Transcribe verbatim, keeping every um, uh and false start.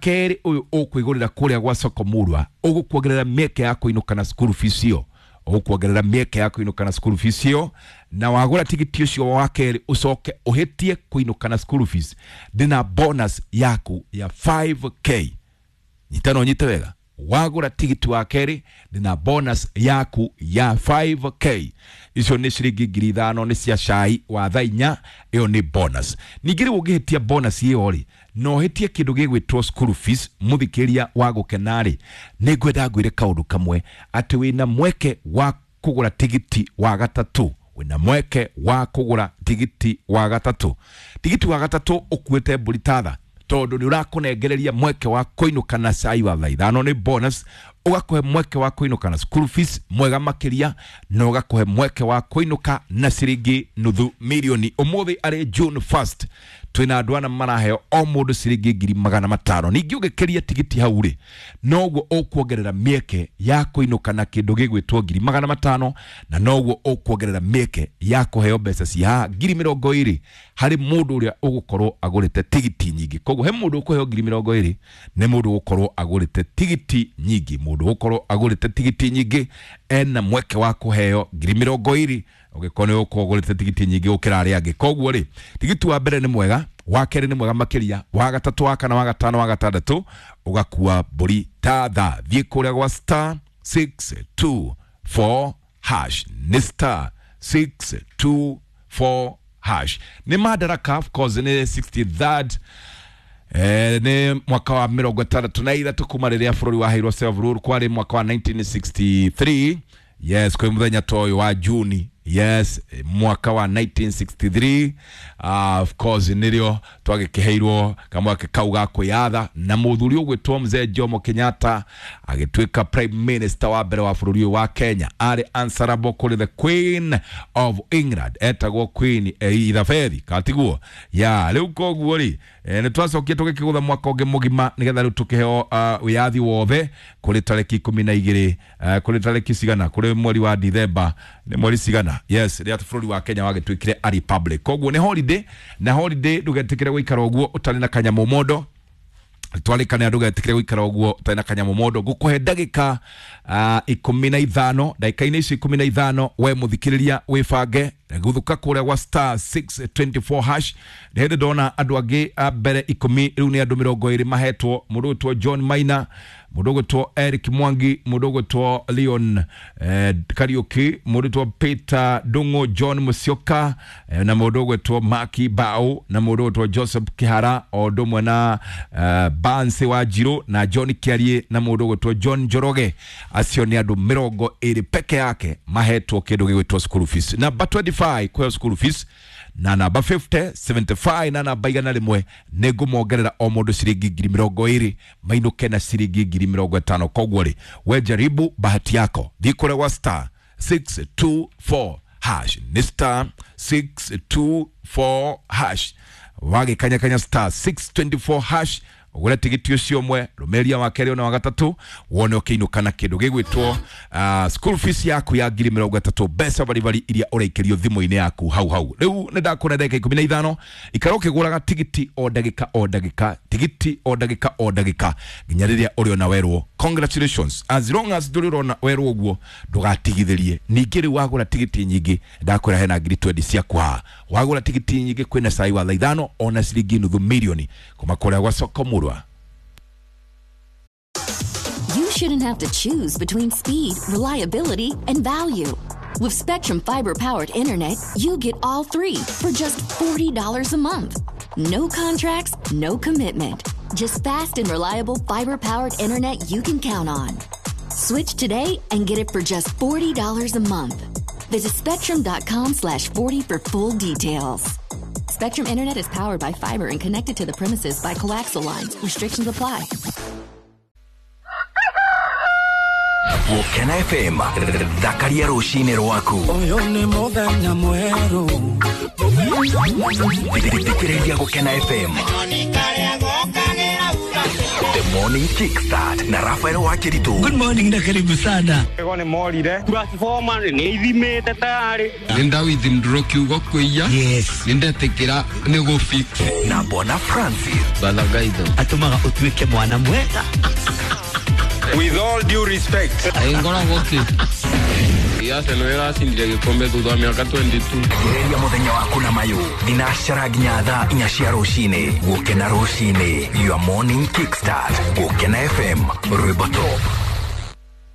kerĩ ũyũ ũkwĩgũrĩra kũrĩa gwa soko murwa ũgũkuongerera mĩeke ya kũinũka na school fees ĩyo, ũgũkuongerera mĩeke ya kũinũka na school fees ĩyo. Na wagũra tigiti ũcio wa kerĩ ũcoke ũhĩtie kũinũka na school fees, ndĩna bonus yaku ya five K. Nyita no nyite wega, wagũra tigiti wa kerĩ ndĩna bonus yaku ya five K. Icio nĩ ciringi ngiri ithano, nĩ cia cai wa thaa inya. Ĩyo nĩ bonus. Ningĩ rĩu ũngĩhĩtia bonus ĩyo rĩ, na ũhĩtie kĩndũ gĩgwĩtwo school fees, mũthikĩria wa gũkena rĩ, nĩ ngwenda ngwĩre kaũndũ kamwe, atĩ wĩna mweke wa kũgũra tigiti wa gatatũ. Wĩna mweke wa kũgũra tigiti wa gatatũ. Tigiti wa gatatũ ũkuĩte mbũri tatha, tondũ nĩ ũrakũnengereria mweke wa kũinũka na cai wa thaa ithano, nĩ bonus, ũgakũhe mweke wa kũinũka na school fees mwega makĩria, na ũgakũhe mweke wa kũinũka na ciringi nuthu milioni. Ũmũthĩ arĩ June first, twĩna andũ ana maraheo o mũndũ ciringi ngiri magana matano. Ningĩ ũngĩkĩria tigiti hau rĩ, noguo ũkuongerera mĩeke ya kũinũka na kĩndũ gĩgwĩtwo ngiri magana matano, na noguo ũkuongerera mĩeke ya kũheo mbeca cia haha ngiri mĩrongo ĩrĩ harĩ mũndũ ũrĩa ũgũkorwo agũrĩte tigiti nyingĩ. Koguo he mũndũ ũkũheo ngiri mĩrongo ĩrĩ nĩ mũndũ ũgũkorwo agũrĩte tigiti nyingĩ. Mũndũ ũgũkorwo agũrĩte tigiti nyingĩ ena mweke wa kũheo ngiri mĩrongo ĩrĩ ũngĩkorwo nĩ ũgũkorwo ũgũrĩte tigiti nyingĩ gũkĩra arĩa angĩ. Koguo rĩ, tigiti wa mbere nĩ mwega, wa kerĩ nĩ mwega makĩria, wa gatatũ, wa kana, wa gatano, wa gatandatũ ũgakua mbũri ta tha. Thiĩ kũrĩa gwa star six two four hash, nĩ star six two four hash. Nĩ Madaraka, of course, nĩ sixty-third, eh, nĩ mwaka wa mĩrongo ĩtandatũ na ithatũ kuma rĩrĩa bũrũri waheirwo self rule, kwarĩ mwaka wa nineteen sixty-three. Yes, kwĩ mũthenya ta ũyũ wa Juni, yes, mwaka wa nineteen sixty-three, uh, of course, nĩrĩo twagĩkĩheirwo kamweke kau ga kwĩyatha, na mũthuri ũgwĩtwo Mzee Jomo Kenyatta agĩtuĩka prime minister wa mbere wa bũrũri ũyũ wa Kenya. Arĩ answerable kũrĩ the Queen of England, etagwo Queen Elizabeth, katiguo ya rĩu. Koguo rĩ, eh, nĩ twacokie tũgĩkĩgũtha mwaka ũngĩ mũgima nĩgetha rĩu tũkĩheo uh, wĩyathi wothe kũrĩ tarĩki ikũmi na igĩrĩ, uh, kũrĩ tarĩki cigana, kũrĩ mweri wa Dithemba, nĩ mweri cigana, yes, rĩrĩa bũrũri wa Kenya wagĩtuĩkire a republic. Koguo nĩ holiday, na holiday ndũgetĩkĩre gũikara ũguo ũtarĩ na kanyamũ mondo. Twarĩkanĩra ndũgetĩkĩre gũikara ũguo ũtarĩ na kanyamũ mondo. Ngũkũhe ndagĩka uh, ikũmi na ithano. Ndagĩka-inĩ icio ikũmi na ithano, we mũthikĩrĩria wĩbange guthuka kũrĩa gwa star six two four hash. Nĩ hĩndĩ ndona andũ angĩ a mbere ikũmi, rĩu nĩ andũ mĩrongo ĩrĩ mahetwo. Mũndũ ũgwĩtwo John Maina, mũndũ ũgwĩtwo Eric Mwangi, mũndũ ũgwĩtwo Leon eh, Kariuki, mũndũ ũgwĩtwo Peter Ndung'u, John Musyoka, eh, na mũndũ ũgwĩtwo Maki Bao, na mũndũ ũgwĩtwo Joseph Kihara, o ũndũ ũmwe na eh, Bansi wa Njirũ na John Kiarie na mũndũ ũgwĩtwo John Njoroge. Acio nĩ andũ mĩrongo ĩrĩ peke yake mahetwo kĩndũ gĩgwĩtwo school fees. Namba twenty-five kũheo school fees, na namba fifty, seventy-five na namba igana rĩmwe nĩ ngũmongerera o mũndũ ciringi ngiri mĩrongo ĩrĩ, mainũke na ciringi ngiri mĩrongo ĩtano. Koguo rĩ, we jaribu bahati yako, thiĩ kũrĩa gwa star six two four hash, nĩ star six two four hash. Wagĩkanyakanya star six two four hash, ũgũre tigiti ũcio ũmwe, rũmĩrĩria wa kerĩ ona wa gatatũ, wone ũkĩinũka na kĩndũ gĩgwĩtwo uh, school fees yaku ya ngiri mĩrongo ĩtatũ, mbeca baribari iria ũraikĩrio thimũ-inĩ yaku hau hau. Rĩu nĩ ndakũra ndagĩka ikũmi na ithano, ikara ũkĩgũraga tigiti o ndagĩka o ndagĩka, tigiti o ndagĩka o ndagĩka, nginya rĩrĩa ũrĩona werwo congratulations. As long as ndũrĩ ũrona werwo ũguo, ndũgatigithĩrie. Ningĩ rĩu wagũra tigiti nyingĩ, ndakwĩra hena ngiri twenty ciaku haha. Wagũra tigiti nyingĩ, kwĩna cai wa thaa ithano ona ciringi nuthu milioni kuma kũrĩa gwa soko murwa. You shouldn't have to choose between speed, reliability, and value. With Spectrum Fiber powered internet, you get all three for just forty dollars a month. No contracts, no commitment. Just fast and reliable fiber powered internet you can count on. Switch today and get it for just forty dollars a month. Visit spectrum dot com slash forty for full details. Spectrum Internet is powered by fiber and connected to the premises by coaxial lines. Restrictions apply. Gũkena F M, thakaria rũcinĩ rwaku. Ũyũ nĩ mũthenya mwerũ. Thikĩrĩria Gũkena F M, the Morning Kickstart na Rafael Wakiritu. Good morning na karibu sana. Ego nĩ morire transformer nĩ ithimĩte tayarĩ. Nĩ ndawithindũrwo kiugo kwĩia. Yes. Nĩ ndetikĩra nĩ gũ fix. Na Bwana Francis. Balagaitho. Atũmaga ũtuĩke mwana mwega. With all due respect. Ngoragwo kĩ. Arsenal ĩracindire gĩkombe thutha wa mĩaka twenty-two. Gereria mũthenya waku na mayũ thinacara nginya thaa inya cia rũcinĩ. Gũkena rũcinĩ, your morning kickstart. Gũkena F M, rwĩmbo top.